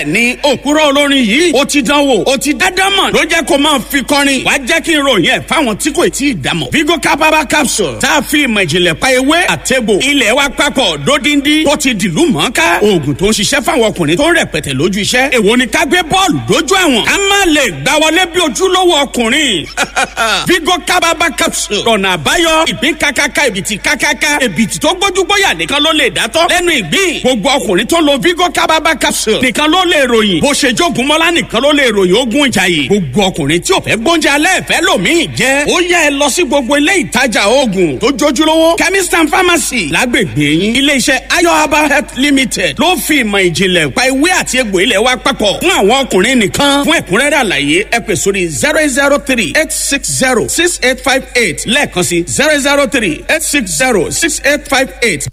Ni òkúrọ̀ olórin yìí, ó ti dánwò, ó ti dádámọ̀, ló jẹ́ kó máa fi kọrin. Wàá jẹ́ kí n ròyìn ẹ̀ fáwọn tí kò tí ì dámọ̀. Vigo Capaba capsule tá a fi ìmọ̀ ìjìnlẹ̀ pa ewé àtẹ̀bò ilẹ̀ wa papọ̀ dódindi tó ti dìlú mọ́ká. Oògùn tó ń ṣiṣẹ́ fáwọn ọkùnrin tó ń rẹpẹtẹ lójú iṣẹ́. Èwo ni ká gbé bọ́ọ̀lù dójú àwọn? Ká má lè gbá wọlé bí ojúlówó ọkùnrin. Vigo Capaba capsule ọ̀nà àbáyọ, ìgbín kakaka, ìbìtì kakaka, ìbìtì tó gbójúgbóyà nìkan ló lè dátọ́ lẹ́nu ìgbín. Gbogbo ọkùnrin tó lo Vigo Capaba capsule nìkan ló lè ròyìn. Bó ṣe jogun mọ́lá nìkan ló lè ròyìn ogun ìjàyè. Gbogbo ọkùnrin tí ò fẹ́ gbóúnjẹ alẹ́ ìfẹ́ lòmíì jẹ́. Ó yẹ ẹ lọ sí gbogbo ilé ìtajà oògùn tó jójúlówó, chemist and pharmacy lágbègbè yín. Iléeṣẹ́ Ayo Herbal Health Limited ló fi ìmọ̀ ìjìnlẹ̀ pa ewé àti egbò ilẹ̀ wa papọ̀ fún àwọn ọkùnrin nìkan. Fún ẹ̀kúnrẹ́rẹ́ àlàyé, ẹ pè sórí 08038606858 lẹ́ẹ̀kan sí 08038606858.